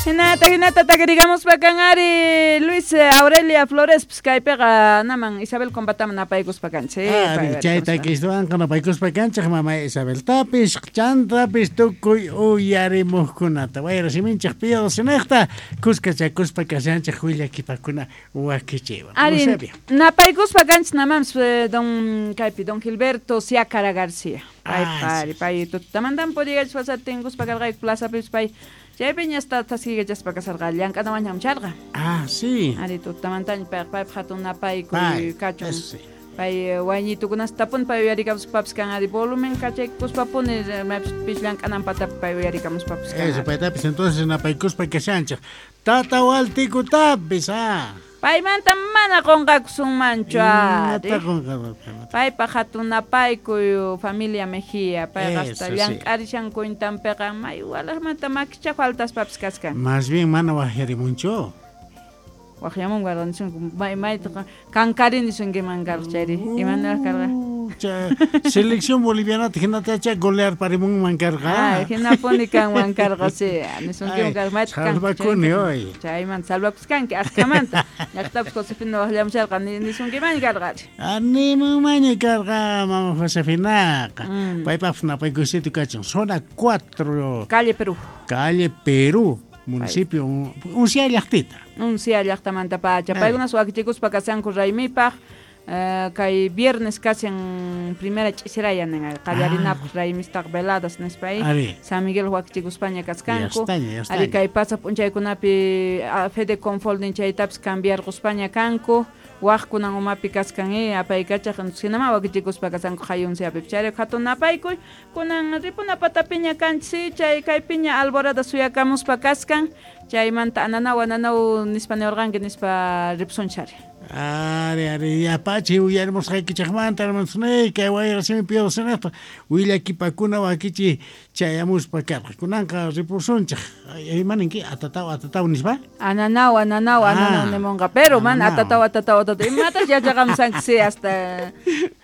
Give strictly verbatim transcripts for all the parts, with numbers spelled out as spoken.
Hinata hinata takirigamuspa kan ari Luis Aurelia Flores pues kaypiqa naman Isabel Compataman napaykuspa kanchik. Ari chay takiswanqa napaykuspa kanchik mama Isabeltapis chantapis tukuy uyarimuqkunata wayra siminchik piyusinaqta kuskachakuspa kashanchik willakipakuna wakichiwan. Ari napaykuspa kanchik namanpis don kaypi don Gilberto Siacara García. Pay pari pay tutamantan puriyachis tinkuspa karqayku plazapis pay chaypiña hasta taskikachaspa kasarqa llank'anawan hamcharqa. Ah, sí. Ari tutamantaña pay paypaq hatun napaykuy kachun. Pay wayñitukunas tapun pay uyarikamuspapis kan ari volumen kachaykuspapuni maypis llank'anan patapi pay uyarikamuspapis kan. Eso paytapis entonces napaykuspa kashanchik. Tata Waltikutapis, ah. Paymanta mana qunqakusunmanchu ari. Paypaq hatun napaykuy familia Mejía, payqa hasta llank'arishan cuentanpiqa may walaqmanta makicha faltaspapis kaskan. Más bien mana waqyarimunchu. Waqyamun guardanchun may maytaqa kankarini sunkiman karqa chayri imanaraq karqa. Selección boliviana hinatacha golear parimunman karqa. Ah, hinapuni kanman karqa sí, nisunkiman karqa mayta salvakuni hoy. Chaymanta salvakuskanki askamanta. Llaqtapis Josefina waqllamusharqa nisunkiman karqa. Animunmanña karqa mama Josefinaqa. Paypaq napaykusitu kachun zona cuatro. Calle Perú. Calle Perú. Municipio Uncia llaqtita. Uncia llaqtamanta pacha. Paykunas wakichikuspa kasanku raymipaq. Uh, kay viernes kashan primera ch'isiraya nin qallarinapaq raymistaq veladas nispa San Miguel wakichikuspaña kaskanku. Ari kay pasaq p'unchaykunapi Fede Confoldin chaytapis cambiarquspaña kanku. Waqkunan umapi kaskan eh apaykachaq hinama wakichikuspa kasanku hayunsiapi chayrayku hatun napaykuy kunan ripuna patapiña kanchik chay kaypiña alborada suyakamuspa kaskan chaymanta ananaw ananaw nispa niwarqanki nispa ripusunchari. Ari ari yapachi uyarimusqaykichikmanta hermanosnay kay wayra simi piyusinaqta willakipakuna wakichi chayamuspa karqa kunanqa ripusunchik imaninki atataw atataw nispa ananaw ananaw ananaw nimunqa pero mana atataw atataw atataw imatas yachaqamusanki sí hasta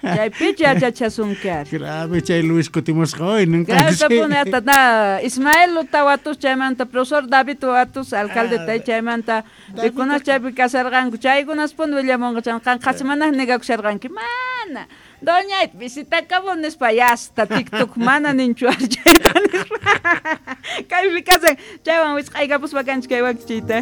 chaypicha yachachasunki ari grave chay Luis kutimusqa hoy nunca grave atata Ismael Utawatus chaymanta profesor David Watus alcalde chaymanta pikunas chaypi kasarqanku chaykunas pun willamunqa chan qhasimanaq negakusharqanki mana doñayta visitakamun nispa yasta TikTok mana ninchu ari chayta nispa kaypi kasan chaywan wisq'aykapuspa kanchik kay wakichiyta.